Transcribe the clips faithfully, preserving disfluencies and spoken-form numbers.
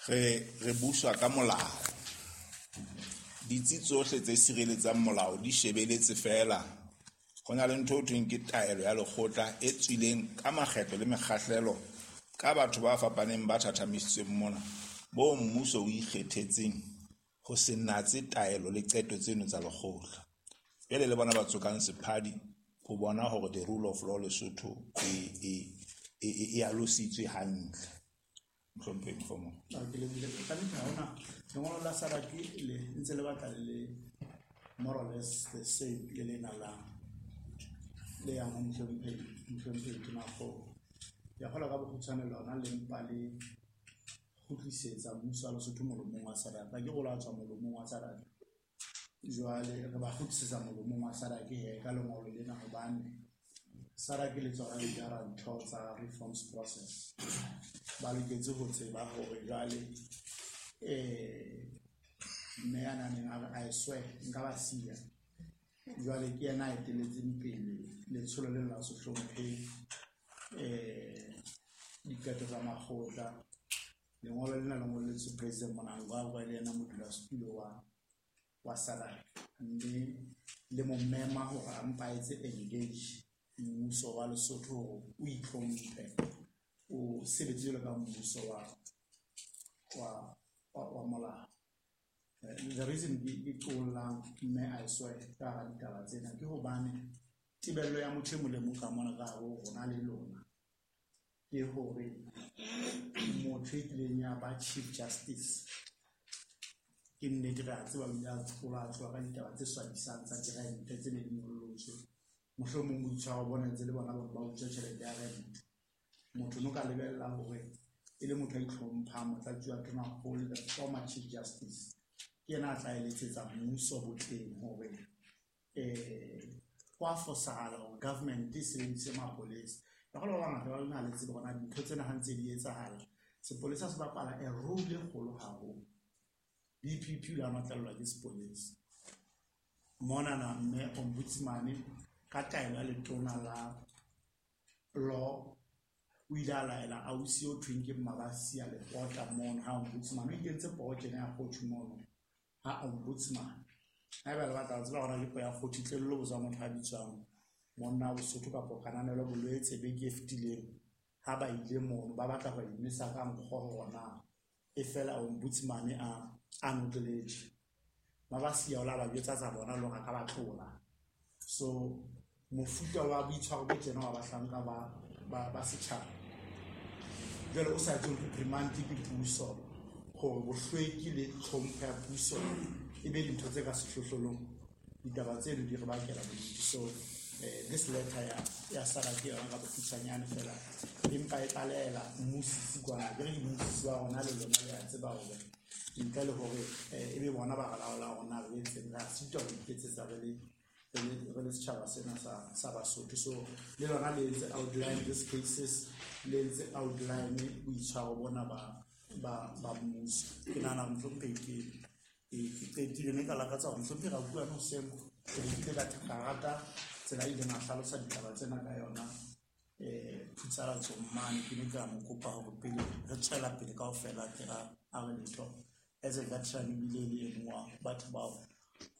Re re buswa ka molao. Ditsi tsohle tse sireletsang molao di shebeletse feela. Ho na le ntho eo thweng ke taelo ya lekgotla e tswileng ka makgetlo le mekgahlelo ka batho ba fapaneng ba thathamisitsweng mona, bo mmuso o ikgethetseng ho se natse taelo le qeto tseno tsa lekgotla. Jwale le bona ba tsokang sephadi ho bona hore the rule of law Lesotho e e e e alositswe hantle. Mohlomphehi Mohlomong. Ah, ke lebohile. Ka nnete ha hona lengolo la S A D C le ntse le batla le le more or less the same le lena la le yang ho mohlomphehi mohlomphehi Tonakgolo. Ke a kgolwa ka bokgutshwane lona le mpa le kgutlisetsa mmuso wa Lesotho molomong wa S A D C. Akere o la tswa molomong wa S A D C. Jwale re ba kgutlisetsa molomong wa S A D C he ka lengolo lena hobane S A D C le tsona di jara ntho tsa reforms process. Ba loketse ho tseba hore jwale eh mme ya nang a re, "I swear nka ba siya." Jwale ke yena a etelletseng pele letsholo lena la se hlomphe eh diqeto tsa makgotla. Lengolo lena le ngolletswe President Mnangagwa le yena modulasetulo wa wa S A D C, mme le mo mema hore a mpa a etse engage mmuso wa Lesotho hore o itlhomphe, o sebetse jwalo ka mmuso wa wa wa, wa molao. Eh, the reason ke ke qollang mme I swear ka hara ditaba tsena ke hobane tebello ya motho e mong le mong ka mona ka hare ho rona le lona ke hore motho e kileng ya ba Chief Justice, ke nnete re a tseba o ile a tlola tloha ka ditaba tse swabisang tsa dirente tse ne di nyollotswe, mohlomong boitshwaro bona ntse le bona ba utswa tjhelete ya rent. Motho no ka lebella hore e le motho a itlhomphang, motlatsi wa tonakgolo, the former Chief Justice, ke yena a tla eletsetsa mmuso botleng hore um ho a fosahala hore government e sebedise mapolesa. Ka ba bangata ba lona le tsebe hore na dintho tsena ha ntse di etsahala, sepolesa se bapala a role e kgolo haholo. B P P o ile a notlellwa ke sepolesa monana, mme ombudsman ka taelo ya letona la law o ile a laela ausi o thweng ke Mmabasia Lepota mono ha ombudsman o ikentse poho tjena ya kgothu mono ha ombudsman. Haeba le batla ho tseba hore ke poho ya kgothu, tle le lo botsa motho a bitswang monna wa Bosotho kapa Kananelo Bolwetse beke e fetileng ha ba ile mono ba batla ho inwesa ka nkgo hore na e fela ombudsman a a notleletswe. Mabasia o la ba jwetsa tsa bona le hore a ka ba tlola. So mofuta wa boitshwaro bo tjena wa bahlanka ba ba ba setjhaba jwale o sa etse reprimand ke puso hore bohlweki le tlhompho ya puso e be dintho tse ka sehlohlolong, ditaba tseno di re bakela bodutu. So eh, this letter ya ya S A D C ke yona ka bokgutshwanyane fela empa e tlalehela mmusisi kwana. Ke re ke mmusisi wa rona le lona le a tseba hore ntle le hore eh, e be bona ba re laolang hore na re etseng, re a sitwa ho iketsetsa re le re le re le setjhaba sena sa sa Basotho. So le lona le entse outline these cases, le entse outline boitshwaro bona ba ba ba mmuso. Ke nahana mohlomphehi ke ke ke qetile mme ka lakatsa hore mohlomphehi Rakuano hoseng ke be ke ile ka ka rata tsela e ileng a hlalosa ditaba tsena ka yona um phutsalatsong mane. Ke ne ke a mo kopa hore pele re tswela pele kaofela ke a a re letho as a veteran ebile e le e mong wa batho bao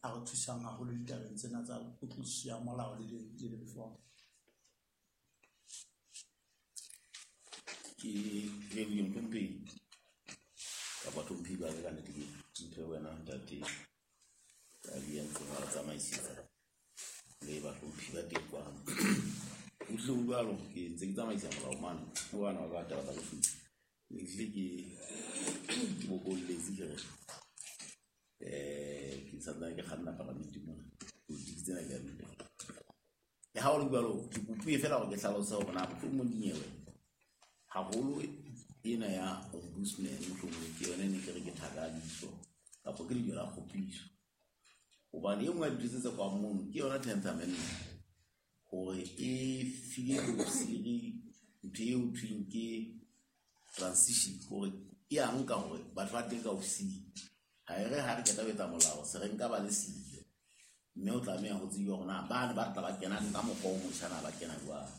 a re thusang haholo ditabeng tsena tsa kutlwisiso ya molao le le di-reform. Ke lebohile, mohlomphehi kapa hlomphehi ba ka. Nnete ke ntho e wena ntate a di entseng wa re tsamaisetsa le bahlomphi ba teng kwano. Ho hlile ho jwalo, ke ntse ke tsamaisa molao mane ho bana ba ka taba tsa boshodu. Ne hlile ke ke bokolletse ke re eh ke santsane ke kganna palamente mona, politiki tsena ke a di utlwa. Le ha ho le jwalo, ke kopuwe feela hore ke hlalose hore na mohlomong dinyewe haholo ena ya ombudsman mohlomong ke yona e ne ke re ke thakadiso kapa ke lejwe la kgopiso, hobane e nngwe ya dintho tse tse kwang mono ke yona tenth amendment hore e file bosiri ntho eo thweng ke transition, hore e a nka hore batho ba teng ka ofising ha e re ha re qeta ho etsa molao se re nka ba le siyo, mme o tlameha ho tsejwa hore na bane ba tla ba kena ka mokgwa o motjha na ba kena jwang.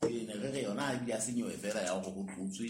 Ee, ne re re yona ha ebile ha se nyewe fela ya hore ho tlotswe.